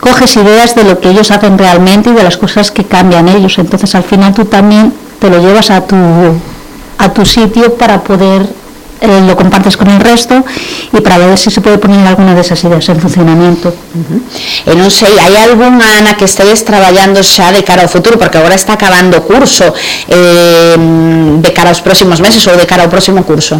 coges ideas de lo que ellos hacen realmente y de las cosas que cambian ellos. Entonces al final tú también te lo llevas a tu sitio para poder, lo compartes con el resto y para ver si se puede poner alguna de esas ideas en funcionamiento. E non sei, hai algunha na que estedes traballando xa de cara ao futuro, porque agora está acabando o curso, de cara aos próximos meses ou de cara ao próximo curso?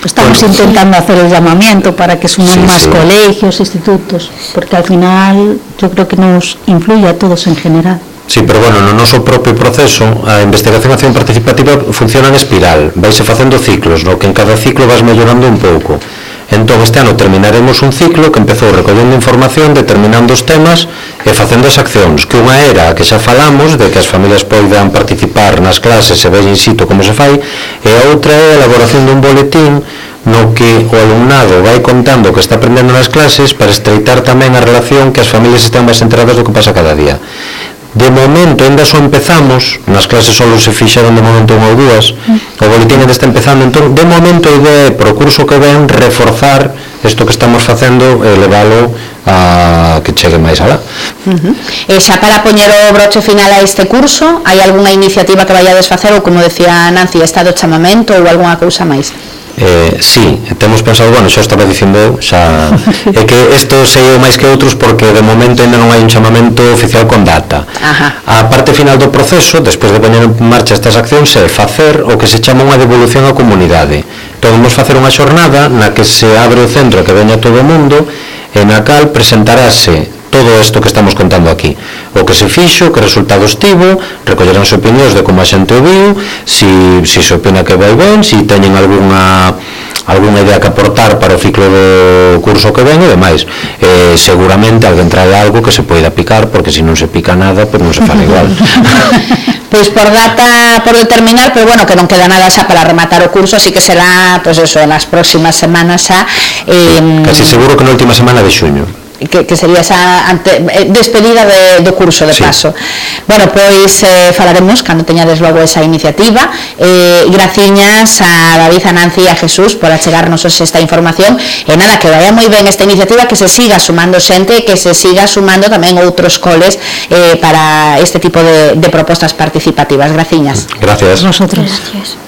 Estamos intentando hacer el llamamiento para que sumen más colegios, institutos, porque al final yo creo que nos influye a todos en general. Sí, pero bueno, no noso propio proceso a investigación e acción participativa funciona en espiral, vaise facendo ciclos, no que en cada ciclo vas mellorando un pouco. Entón este ano terminaremos un ciclo que empezou recollendo información, determinando os temas e facendo as accións, que unha era a que xa falamos, de que as familias poidan participar nas clases e ver in situ como se fai, e a outra é a elaboración dun boletín no que o alumnado vai contando o que está aprendendo nas clases para estreitar tamén a relación, que as familias estén máis enteradas do que pasa cada día. De momento, ainda só empezamos, nas clases só se fixaron de momento unha ou dúas, o boletín ainda está empezando, entón, de momento a idea é, pro curso que ven, reforzar isto que estamos facendo e leválo a que chegue máis alá. E xa para poñer o broche final a este curso, hai algunha iniciativa que vayades facer, ou como decía Nancy, está do chamamento ou algunha cousa máis? Sí, temos pensado, bueno, xa estaba dicindo xa, é que isto sei máis que outros porque de momento ainda non hai un chamamento oficial con data. A parte final do proceso, despois de poñer en marcha estas accións, é facer o que se chama unha devolución á comunidade. Entón, vamos facer unha xornada na que se abre o centro que veña todo o mundo e na cal presentarase todo isto que estamos contando aquí, o que se fixo, que resultados tivo, recollerán opinións de como a xente o viu, si se opina que vai ben, si teñen algunha idea que aportar para o ciclo do curso que ven e demais. Seguramente alguén trae algo que se poida picar, porque se non se pica nada, pois non se fala igual. Pois por data por determinar, pero bueno, que non queda nada xa para rematar o curso, así que será, pois eso, nas próximas semanas xa. Casi seguro que na última semana de xuño. Que sería esa despedida do curso de paso. Bueno, pois falaremos cando teñades logo esa iniciativa. Graciñas a David, a Nancy e a Jesús por achegarnos esta información, e nada, que vaya moi ben esta iniciativa, que se siga sumando xente, que se siga sumando tamén outros coles para este tipo de propostas participativas. Graciñas. Gracias. Nosotros. Gracias.